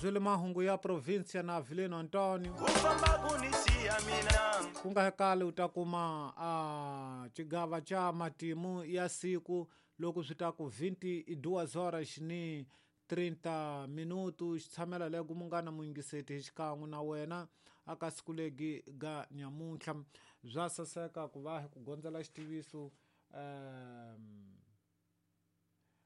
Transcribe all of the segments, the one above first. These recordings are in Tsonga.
Zwile mahungu ya provinsia na Avelino Antonio. Ku nga kale u ta kuma a xigava xa matimu ya siku loko swi ta ku 22 horas ni 30 minutu xi tshamela lego munghana muyingiseti hi xikan'we na wena aka siku legi ga nyamuntlha bya saseka ku va hi ku gondzela xitiviso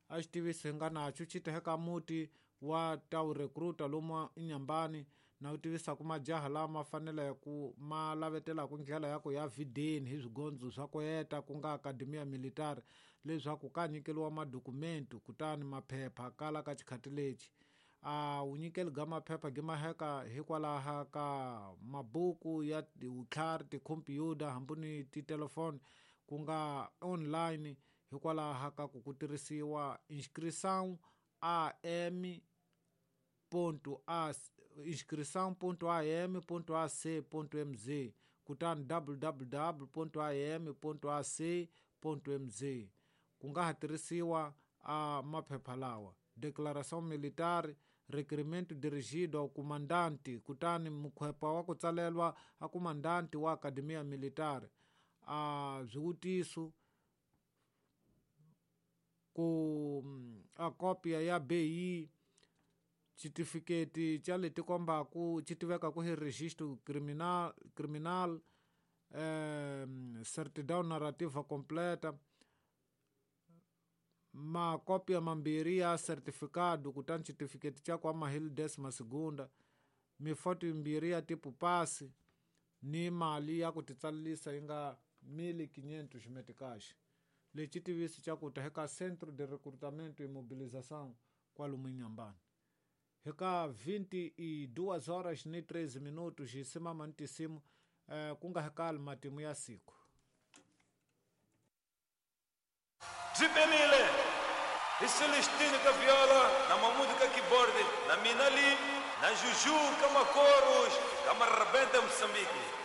a xitiviso hi nga naxo xi ta muti wa ta recruiter lomu Inhambane na u tivisaku majaha lama faneleke ku ma lavetelaku ndlela ya ku ya videni hi swigondzo swa ku heta ku nga Academia Militar leswaku ka nyikeliwa madokumenti kutani maphepha kala ka xikhati lexi a wu nyikeli ga maphepha gi maheka hikwalaho ka mabuku ya vutlhari tikhompyuta hambi ni titelefoni ku nga online hikwalaho ka ku ku tirhisiwa inscrição am ponto a inscrição.am.ac.mz kutani www.am.ac.mz ku nga ha tirhisiwa a maphepha lawa declaração militar requerimento dirigido ao comandante kutani mukhwepa wa ku tsalelwa a comandante wa Academia Militar a swivutiso ku a kopia ya BI xitifiketi xa leti kombaku xi tivekaku hi registro criminal criminal certidão narrativa completa makopia mambirhi ya certificado kutani xitifiketi xa ku amahili décima segunda mifoto yimbirhi ya tipo pasi ni mali ya ku titsalisa yi nga 1500 meticais lexi tiviso xa ku ta eka Centro de Recrutamento e Mobilização kwalomu Inhambane eka 22 horas ni 13 minutos hi simama ni tinsimu ku nga hakali matimu ya siku Byi perile hi Celestino ka viola na Mamudu ka keyboard na Minali na Juju ka makoros ka Marabenta Moçambique.